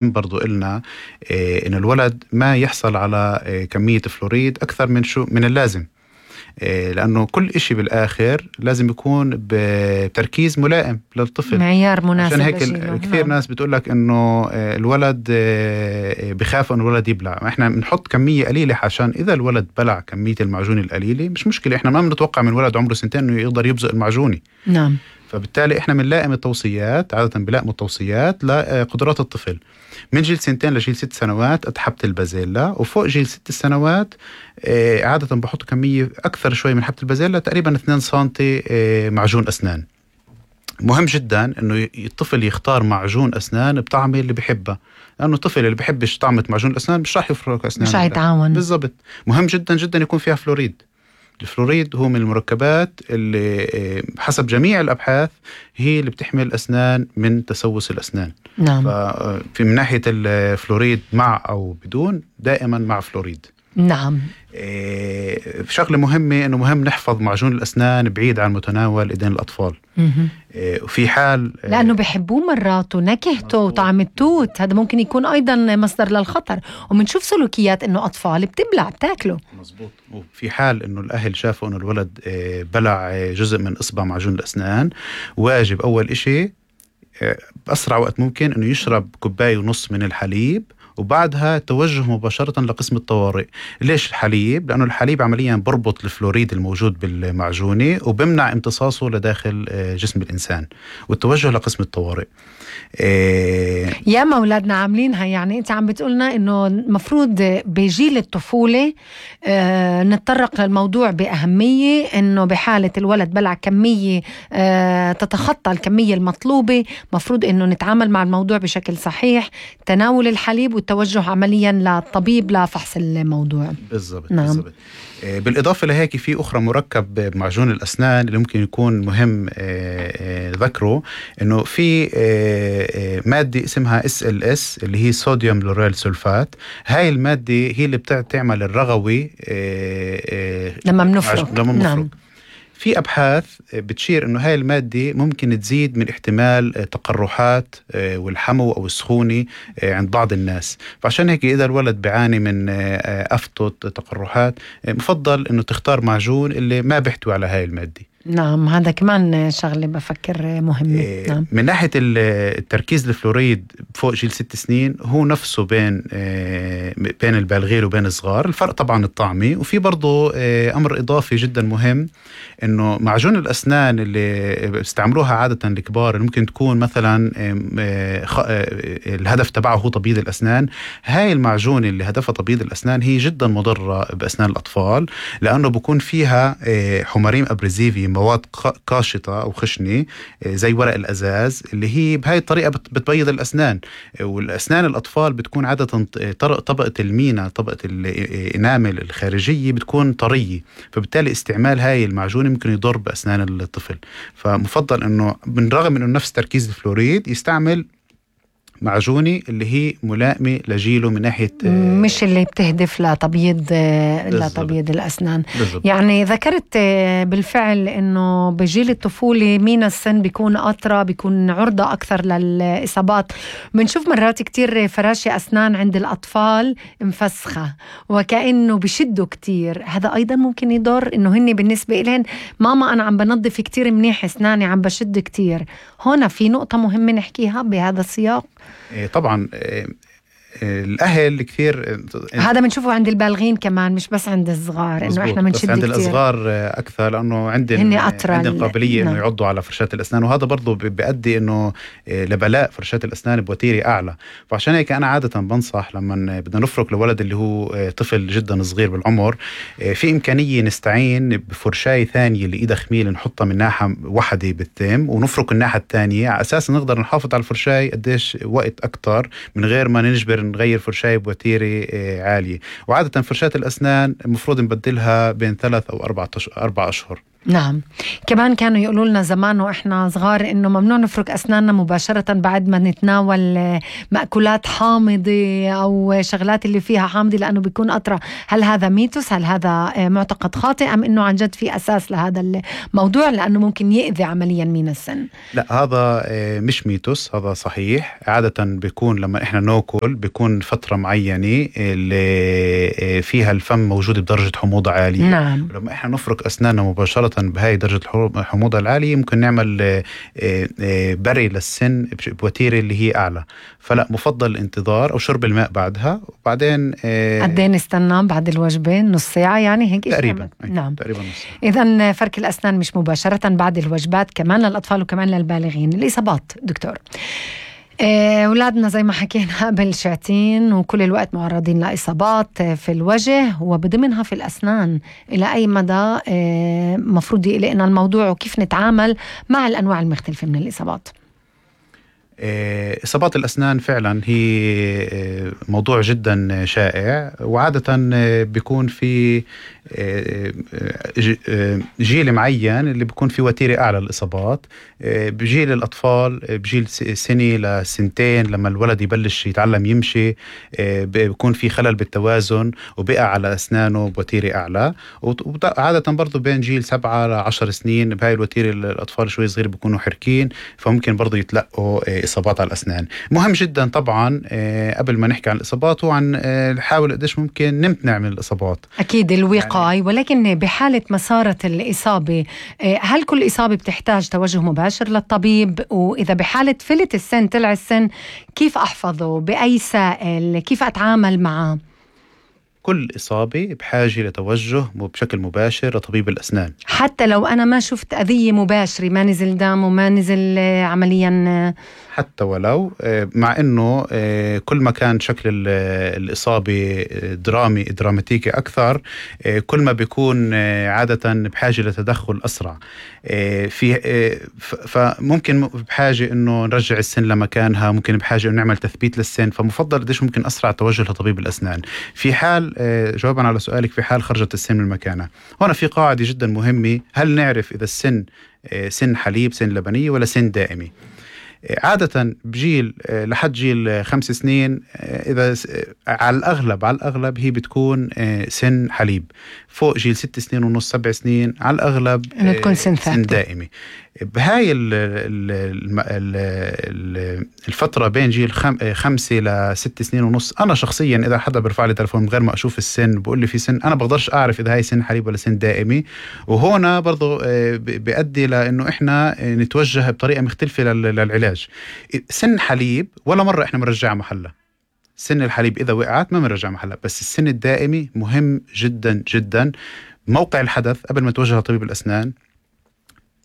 برضو إلنا إن الولد ما يحصل على كمية فلوريد أكثر من اللازم، لأنه كل إشي بالآخر لازم يكون بتركيز ملائم للطفل، معيار مناسب. عشان هيك كثير ناس بتقولك إنه الولد بخاف إنه الولد يبلع. إحنا بنحط كمية قليلة عشان إذا الولد بلع كمية المعجون القليلة مش مشكلة. إحنا ما بنتوقع من الولد عمره 2 إنه يقدر يبزق المعجوني. نعم. فبالتالي إحنا بنلائم التوصيات، عادة بلائم التوصيات لقدرات الطفل من جيل 2 لجيل 6 سنوات حبة البازيلا، وفوق جيل 6 سنوات عادة بحط كمية أكثر شوي من حبة البازيلا، تقريبا 2 سنتي معجون أسنان. مهم جدا إنه الطفل يختار معجون أسنان بطعمه اللي بيحبه، لأنه الطفل اللي بيحبش طعمة معجون الأسنان مش راح يفرك أسنان، مش هيتعاون. بالضبط. مهم جدا جدا يكون فيها فلوريد. الفلوريد هو من المركبات اللي حسب جميع الأبحاث هي اللي بتحمي الأسنان من تسوس الأسنان. نعم. ففي من ناحية الفلوريد مع أو بدون، دائما مع فلوريد. نعم. شغلة مهمة إنه مهم نحفظ معجون الأسنان بعيد عن متناول إيدين الأطفال. وفي حال لأنه بيحبوه مرات ونكهته وطعم التوت، هذا ممكن يكون أيضا مصدر للخطر. ومنشوف سلوكيات إنه أطفال بتاكله. مزبوط. وفي حال إنه الأهل شافوا إنه الولد بلع جزء من إصبع معجون الأسنان، واجب أول إشي بأسرع وقت ممكن إنه يشرب 1.5 كوب من الحليب، وبعدها توجه مباشرة لقسم الطوارئ. ليش الحليب؟ لأنه الحليب عمليا بربط الفلوريد الموجود بالمعجونة وبمنع امتصاصه لداخل جسم الإنسان، والتوجه لقسم الطوارئ. يا مولادنا عاملينها. يعني أنت عم بتقولنا إنه مفروض بجيل الطفولة نتطرق للموضوع بأهمية، إنه بحالة الولد بلع كمية تتخطى الكمية المطلوبة مفروض إنه نتعامل مع الموضوع بشكل صحيح، تناول الحليب والتوجه عمليا للطبيب لفحص الموضوع. بالضبط. نعم. بالضبط. بالإضافة لهيك في أخرى مركب بمعجون الأسنان اللي ممكن يكون مهم ذكره، إنه في مادة اسمها SLS اللي هي صوديوم لوريل سولفات. هاي المادة هي اللي بتعمل الرغوي لما بنفرك. نعم. في أبحاث بتشير إنه هاي المادة ممكن تزيد من احتمال تقرحات والحمو أو السخونة عند بعض الناس. فعشان هيك إذا الولد بيعاني من أفتط تقرحات، مفضل إنه تختار معجون اللي ما بيحتوي على هاي المادة. نعم، هذا كمان شغلة بفكر مهمة. نعم. من ناحية التركيز الفلوريد فوق جيل 6 سنين هو نفسه بين البالغين وبين الصغار. الفرق طبعا الطعمي، وفي برضو أمر إضافي جدا مهم، إنه معجون الأسنان اللي بيستعملوها عادة الكبار اللي ممكن تكون مثلا الهدف تبعه هو تبييض الأسنان، هاي المعجون اللي هدفها تبييض الأسنان هي جدا مضرة بأسنان الأطفال، لأنه بيكون فيها حماريم أبريزيفي، مواد قاشطة أو خشنة زي ورق الأزاز، اللي هي بهاي الطريقة بتبيض الأسنان. والأسنان الأطفال بتكون عادة طبقة المينا، طبقة الإنامل الخارجية بتكون طرية، فبالتالي استعمال هاي المعجون ممكن يضر بأسنان الطفل. فمفضل إنه بالرغم إنه نفس تركيز الفلوريد يستعمل معجونة اللي هي ملائمة لجيله من ناحية مش اللي بتهدف لتبييض الأسنان. بالزبط. يعني ذكرت بالفعل إنه بجيل الطفولة مين السن بيكون أطرى، بيكون عرضة أكثر للإصابات. بنشوف مرات كتير فراشي أسنان عند الأطفال مفسخة وكأنه بشدوا كتير، هذا أيضا ممكن يضر. إنه هني بالنسبة إلين ماما أنا عم بنظف كتير منيح أسناني، عم بشد كتير. هنا في نقطة مهمة نحكيها بهذا السياق. طبعا الأهل كثير هذا بنشوفه عند البالغين كمان، مش بس عند الصغار، إنه إحنا بنشد كتير. عند الصغار أكثر لأنه عندهم قابلية إنه يعضوا على فرشات الأسنان، وهذا برضو بيؤدي إنه لبلاء فرشات الأسنان بوتيرة أعلى. فعشان هيك أنا عادة بنصح لما بدنا نفرك لولد اللي هو طفل جدا صغير بالعمر، في إمكانية نستعين بفرشاية ثانية اللي إيدها خميل، نحطها من ناحية واحدة بالثيم ونفرك الناحية الثانية، على أساس نقدر نحافظ على الفرشاية قديش وقت أكتر من غير ما نجبر نغير فرشاية بوتيرة عالية. وعادة فرشاة الأسنان المفروض نبدلها بين 3 أو 4 أشهر. نعم. كمان كانوا يقولوا لنا زمان وإحنا صغار إنه ممنوع نفرك أسناننا مباشرة بعد ما نتناول مأكولات حامضة أو شغلات اللي فيها حامضة لأنه بيكون أطرى. هل هذا ميتوس؟ هل هذا معتقد خاطئ أم إنه عن جد في أساس لهذا الموضوع لأنه ممكن يؤذي عمليا مين السن؟ لا، هذا مش ميتوس، هذا صحيح. عادة بيكون لما إحنا ناكل بيكون فترة معينة اللي فيها الفم موجود بدرجة حموضة عالية. نعم. لما إحنا نفرك أسناننا مباشرة بهاي درجة الحموضة العالية ممكن نعمل بري للسن بوتيرة اللي هي أعلى. فلا، مفضل الانتظار أو شرب الماء بعدها. وبعدين قد ايه نستنى بعد الوجبة؟ نص ساعة يعني هيك تقريبا. نعم تقريبا نص ساعة. إذن فرك الأسنان مش مباشرة بعد الوجبات كمان للأطفال وكمان للبالغين. الإصابات دكتور، أولادنا زي ما حكينا قبل شعتين وكل الوقت معرضين لإصابات في الوجه وبضمنها في الأسنان. إلى أي مدى مفروض يقلقنا الموضوع وكيف نتعامل مع الأنواع المختلفة من الإصابات؟ إصابات الأسنان فعلا هي موضوع جدا شائع، وعادة بيكون في جيل معين اللي بيكون في وتيرة أعلى الإصابات. بجيل الأطفال بجيل سنة لسنتين لما الولد يبلش يتعلم يمشي بيكون في خلل بالتوازن وبقع على أسنانه بوتيرة أعلى. وعادة برضو بين جيل 7 ل 10 سنين بهاي الوتيرة الأطفال شوي صغير بيكونوا حركين، فممكن برضو يتلقوا إصابات على الأسنان. مهم جدا طبعا قبل ما نحكي عن الإصابات وعن نحاول قديش ممكن نمتنع من الإصابات. أكيد الوقاية، ولكن بحالة مسارة الإصابة هل كل إصابة بتحتاج توجه مباشر للطبيب؟ وإذا بحالة فلت السن طلع السن كيف أحفظه؟ بأي سائل؟ كيف أتعامل معه؟ كل إصابة بحاجة لتوجه بشكل مباشر لطبيب الأسنان، حتى لو أنا ما شفت أذية مباشرة، ما نزل دم وما نزل عمليا، حتى ولو مع أنه كل ما كان شكل الإصابة دراماتيكي أكثر كل ما بيكون عادة بحاجة لتدخل أسرع. فممكن بحاجة أنه نرجع السن لمكانها، ممكن بحاجة أنه نعمل تثبيت للسن، فمفضل قديش ممكن أسرع توجه لطبيب الأسنان. في حال جوابا على سؤالك، في حال خرجت السن من مكانها، هنا في قاعدة جدا مهمة: هل نعرف إذا السن سن حليب، سن لبنية، ولا سن دائمي؟ عادة بجيل لحد جيل 5 سنين إذا على الأغلب هي بتكون سن حليب. فوق جيل 6 سنين ونص 7 سنين على الأغلب تكون سن دائمي. بهاي الفترة بين جيل 5 ل 6 سنين ونص، أنا شخصيا إذا حدا برفع لي تلفون من غير ما أشوف السن بقول لي في سن، أنا بقدرش أعرف إذا هاي سن حليب ولا سن دائمي. وهنا برضو بيؤدي لأنه إحنا نتوجه بطريقة مختلفة للعلاج. سن حليب ولا مرة إحنا بنرجعها محلها، سن الحليب إذا وقعت ما بنرجع محلها، بس السن الدائمي مهم جدا جدا. موقع الحدث قبل ما توجه لطبيب الأسنان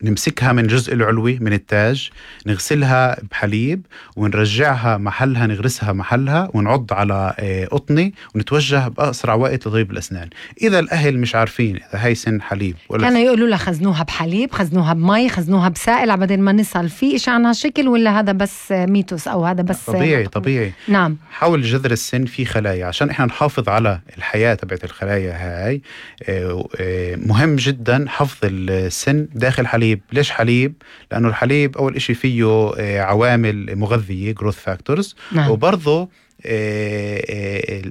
نمسكها من الجزء العلوي من التاج، نغسلها بحليب ونرجعها محلها، نغرسها محلها ونعض على قطني ونتوجه بأسرع وقت لطبيب الأسنان. إذا الأهل مش عارفين إذا هاي سن حليب ولا كانوا يقولوا لها خزنوها بحليب، خزنوها بمي، خزنوها بسائل عبدين ما نسأل في إشي عنها شكل، ولا هذا بس ميتوس أو هذا بس طبيعي. نعم. حول جذر السن في خلايا عشان إحنا نحافظ على الحياة تبعت الخلايا هاي. مهم جدا حفظ السن داخل حليب. ليش حليب؟ لأنه الحليب أول إشي فيه عوامل مغذية growth factors. نعم. وبرضه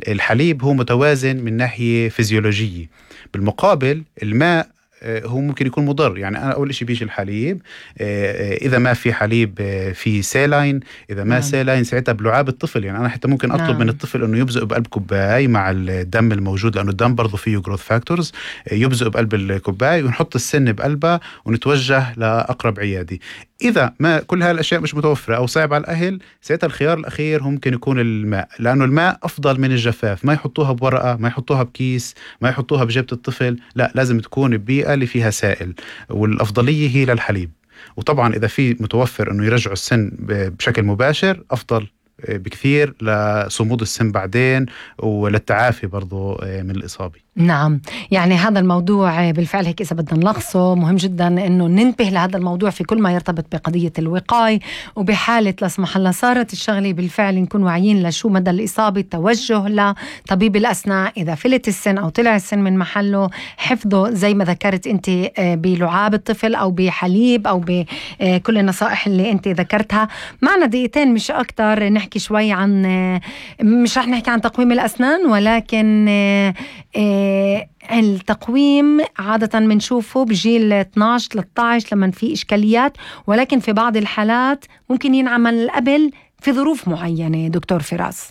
الحليب هو متوازن من ناحية فيزيولوجية. بالمقابل الماء هو ممكن يكون مضر. يعني أنا أول شيء بيجي الحليب، إذا ما في حليب في سيلاين، إذا ما سيلاين ساعتها بلعاب الطفل. يعني أنا حتى ممكن أطلب من الطفل أنه يبزق بقلب كوباي مع الدم الموجود، لأنه الدم برضو فيه growth factors، يبزق بقلب الكوباي ونحط السن بقلبها ونتوجه لأقرب عيادي. إذا ما كل هالأشياء مش متوفرة أو صعب على الأهل، ساعتها الخيار الأخير ممكن يكون الماء، لأنه الماء أفضل من الجفاف. ما يحطوها بورقة، ما يحطوها بكيس، ما يحطوها بجيبة الطفل، لا، لازم تكون ببيئة اللي فيها سائل، والأفضلية هي للحليب. وطبعا إذا في متوفر أنه يرجعوا السن بشكل مباشر أفضل بكثير لصمود السن بعدين وللتعافي برضو من الإصابة. نعم، يعني هذا الموضوع بالفعل هيك إذا بدنا نلخصه مهم جدا إنه ننتبه لهذا الموضوع في كل ما يرتبط بقضية الوقاية، وبحالة لا سمح الله صارت الشغلة بالفعل نكون واعيين لشو مدى الإصابة، توجه لطبيب الأسنان إذا فلت السن أو طلع السن من محله، حفظه زي ما ذكرت أنت بلعاب الطفل أو بحليب أو بكل النصائح اللي أنت ذكرتها. معنا دقيقتين مش أكتر نحكي شوي عن، مش رح نحكي عن تقويم الأسنان، ولكن التقويم عادة منشوفه بجيل 12-13 لما في إشكاليات، ولكن في بعض الحالات ممكن ينعمل قبل في ظروف معينة. دكتور فراس،